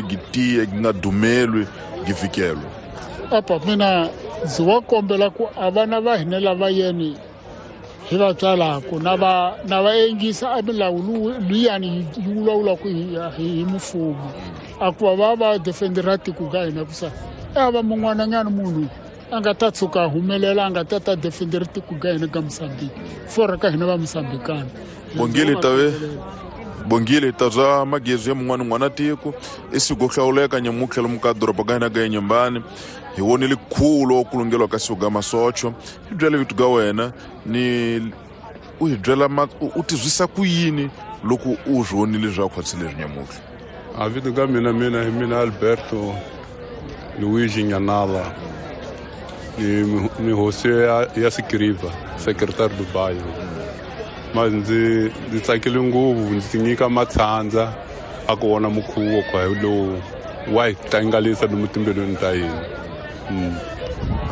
Gi tiye gi nga dumelwi gi vhikelwa. Apa mina ndzi wa kombela ku a vana va hina lava yeni hi va tswalaku na va na va engisa a milawu luyani yi vulavulaka hi mfumo, a ku va va va defendera tiko ka hina, ku sa a va mun'wananyana munhu a nga ta tshuka a humelela a nga ta ta defendera tiko ka hina ka Mosambiki, fora ka hina va Mosambikana. Bongile tave bongile ta bya magezi ya mun'wana n'wana tiko i siku hlawuleka nyamutlha lomu ka doroba ka hina ka Inhambane. Hi vonile khulo ku lungeliwa ka siku ga masocho. Hi byele vito ga wena ni u hi byela u tizwisa ku yini loko u swi vonile swa khwatsi leswi nyamutlha? A vito ka mina, mina hi mina Alberto Luigi Nyanala, ni hosi ya Sikiriva, secretary do bairro. Ma ndzi tsakile ngopfu, ndzi tinyika matshandza a ku vona mukhuvo kwa hi lowu wa hi tlangalisa lomu timbilwini ta hina.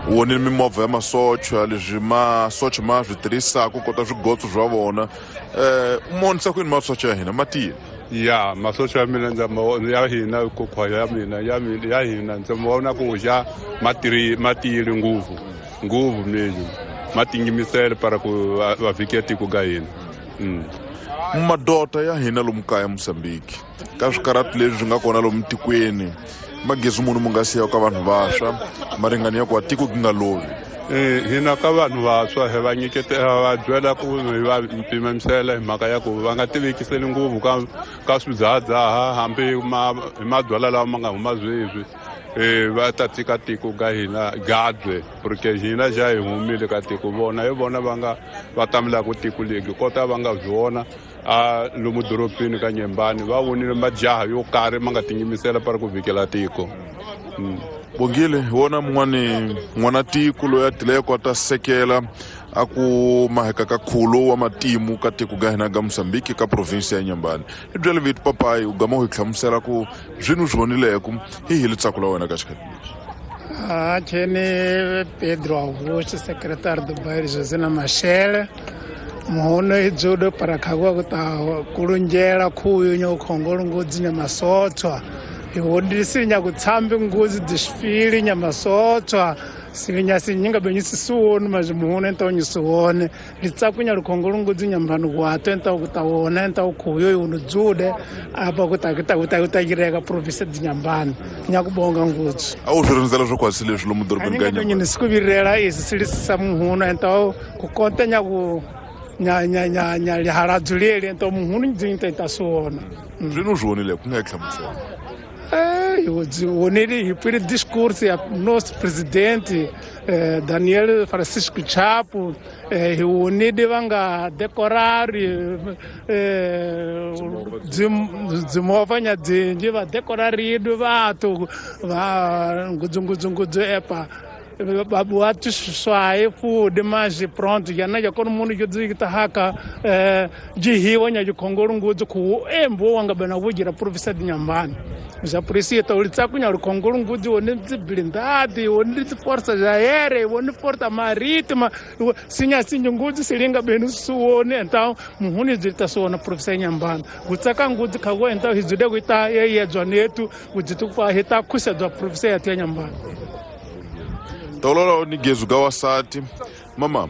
U vonile mimovha ya masocha, leswi masocha ma swi tirhisaka ku kota swigotso swa vona, u monisa ku yini masocha ya hina ma tiyile? Ya masocha ya mina ndza ma ya hina kokhwa ya mina ya mina ya hina ndza ma vona ku ja ma tiyile ngopfu ngopfu, mesmo ma tinyimisele para ku va vhike tiko ka hina. Madota ya hina lomu kaya Mosambiki ka swikarati leswi swi nga kona lomu tikweni, magezi munhu mu nga siya ka vanhu vantshwa maringani ya ku wa tiko ki nga lovi? Hina ka vanhu vantshwa hi va nyiketela, va byela ku hi va pimisela hi mhaka ya ku va nga tivekiseli ngopfu ka swidzahadzaha, hambi hi mabyalwa lawa ma nga huma sweswi, va ta tika tiko ka hina gabye, porque hina xa hi humile ka tiko, vona hi vona va nga va tamelaka tiko legi kota va nga byi vona a lomu dorobeni ka Nyembani, va vonile majaha yo karhi ma nga tinyimisela para ku vhikela tiko. Bongile, hi wona mun'wani n'wana tiko loyi a tileko a ta sekela a ku maheka ka khulo wa matimu ka tiko ka hina ka Mosambiki ka provinsi ya Inhambane. Hi byele vito papayi, u gama u hi hlamusela ku zwini u swi vonileko, hi hi litsako la wena ka xikhathi lexi. Chene Pedro Augusto, secretário do bairro José Machele. Muhono idzudo para khagwa kuta kulunjela khuyu nya ukhongolo ngudzi nya masotswa. Iwodisi nya kutsambi ngudzi desfile nya masotswa. Silinya sinyinga benyi sisuwoni mas muhono então nyisuwone. Litsaku nya lukhongolo ngudzi nya mbanu kwato então kutawona então khuyu yuno dzude apa kuta kuta kuta kuta província de Inhambane. Nya kubonga ngudzi. A wu swi rindzela swo kwasi leswi lomu dorobeni ka Inhambane? Nyini sikuvirela isi silisa muhuno então kukonta nya ku nya nya nya nya lihaladzu leli então muhunu ndzi ta suwona. Zwini u swi vonile ku nga hi hlamusela? Wonile hi pfile discurso ya nosso presidente Daniel Francisco Chapo, hi wonile va nga decorari dzimovha nya dzinji va decoraridwe vathu va ngudzungudzungudzu epa babuati swaye fude mas pronto ya na ya kono munhu yo dzikita haka jihiwa nya jikhongolo ngudzi ku embo wanga bana vugira province de Inhambane. Já por isso então litsaku nya lukhongolo ngudzi woni dzi blindade, woni dzi força aérea, woni força marítima, sinya sinya ngudzi silinga benu suwoni, então muhuni dzita suwona province de Inhambane gutsaka ngudzi khago, então hizude kuita yeyedzwa netu kudzitu kwa hita khusedzwa province ya Inhambane. Tolola ni gezu ga wasati mama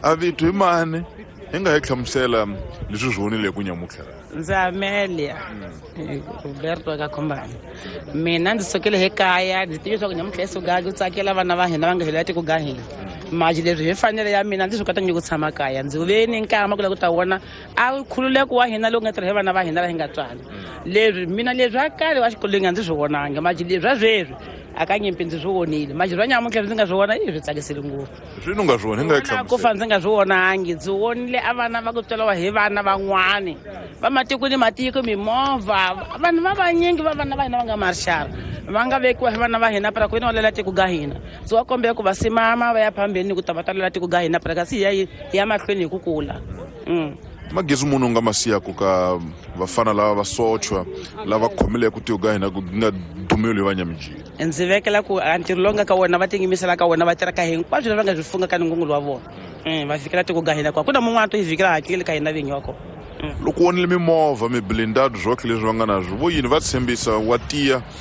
a vito hi mani, hi nga hi hlamusela leswi swi vonile ku nyamutlha? Ndzi Amelia Roberto ka Khombani. Mina ndzi sukile hi kaya, ndzi tive leswaku nyamutlha esuka ku tsakela vana va hina va nga hela tiko ga hina, maji leswi hi fanele ya mina ndzi swi kota nyiko tshama kaya. Ndzi ve ni nkama ku lava ku ta vona a khululeko wa hina lowu nga tirha hi vana va hina la hi nga tswala leswi. Mina leswi a kale wa xikolweni a ndzi swi vonanga, maji leswi a sweswi a ka nyimpi ndzi swi vonile, maji swa nyamuntlha ndzi nga swi vona i swi tsakisile ngopfu. Swini u nga swi vona, hi nga hi? Ku fa ndzi nga swi vonangi, ndzi vonile a vana va ku tsweliwa hi vana van'wani va matiko ni matiko, mimovha, vanhu va vanyingi va vana va hina va nga marixara va nga vekiwa hi vana va hina para ku veni va lela tiko ga hina. Ndzi wa kombela ku va simama va ya phambeni ku ta va ta lela tiko ga hina para kasi hi ya mahlweni hi ku kula. Magezi munhu u nga ma siyaku ka vafana lava va sochwa lava khomileke tiko ka hina ku nga dumeli hi vanyamijini? Ndzi vekela ku a ntirho lowu nga ka wona va tinyimisela ka wona, va tirha ka hinkwaswo leswi va nga swi funga ka nungungulu wa vona, va fikela tiko ga hina kwa ku na mun'wana to hi fikela hakeli ka hina vinyi wa kona. Loko vonile mimovha, miblindado, zwoke leswi va nga na swo vo yini va tshembisa wa tiya?